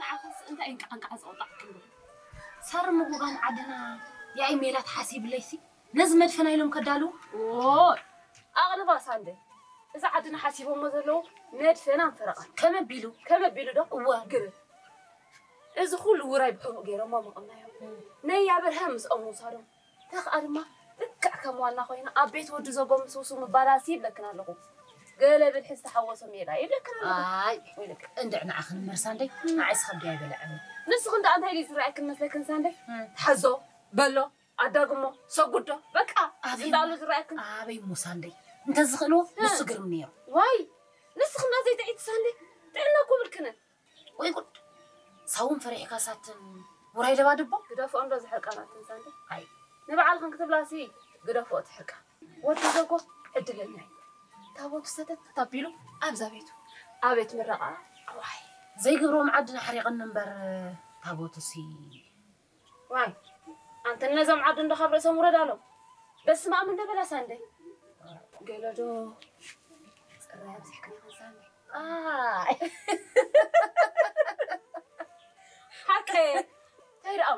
ንዓኽስ እንታይ እንቃዕ እንቃዕ ዘውጣዕክን? ሳር ምጉጋም ዓድና ያኢ ሜላት ሓሲብለይሲ ነዚ መድፈና ኢሎም ከዳልዉ። ዎ ኣቕልባ ሳንደ፣ እዚ ዓድና ሓሲቦሞ ዘለዉ መድፈናን ፈረቓን ከመቢሉ ከመቢሉ ዶ እወ ግርም። እዚ ኩሉ ውራይ ብሕቡእ ገይሮሞ መቐምናዮም። ነይ ኣብርሃም ምስኦም ምውሳዶም፣ ተኽኣ ድማ ልክዕ ከም ዋና ኮይና ኣብ ቤት ወዲ ዘጎ ምስ ውሱ ምባላሲ ይብለክን ኣለኹ። ገለ ብልሒ ዝተሓወሶ ሜላ ይብለክን ኣለኹ። ኣይ ወይለክ። እንድዕ ንዓኽን መርሳ እንደይ ንዓይስ ከብዲ ኣይበልዐኒ። ንስኽን ደኣ እንታይ ድዩ ዝረኣየክን መስለክን ሳንደይ? እም። ሓዞ በሎ ኣዳግሞ ሰጉዶ በቃ ኣበይ እንዳሉ ዝረኣየክን። ኣበይ ሙሳ እንደይ እንተዝኽእልዎ ንሱ ግርም ነይሩ። ዋይ ንስኽና ዘይጥዒት ሳንደይ ጥዕና እኮ ብልክነ። ወይ ጉድ። ሳውን ፈሪሕካ ሳትን ውራይ ለባድቦ። ግደፍኦ እንዶ ዝሕርቃናትን ሳንደይ። ኣይ። ንባዕልኽን ክትብላሲ ግደፍኦ ትሕርቃ። ወዲ ዘጎ ዕድለኛ እዩ። ታቦቱ ሰተት ኣቢሉ ኣብዛ ቤቱ ኣቤት ምረቓ። ኣዋይ ዘይግብሮም ዓድና ሓሪቕኒ እምበር ታቦቱሲ። ዋይ ኣንተ ነዞም ዓዲ እንዶ ካብ ርእሶም ውረድ ኣሎም። በስመ ኣብ እንዶ በላ ሳንደይ። ገለዶ ጽራይ ኣብዚሕክን ኢኽን ሳንደይ። ኣይ።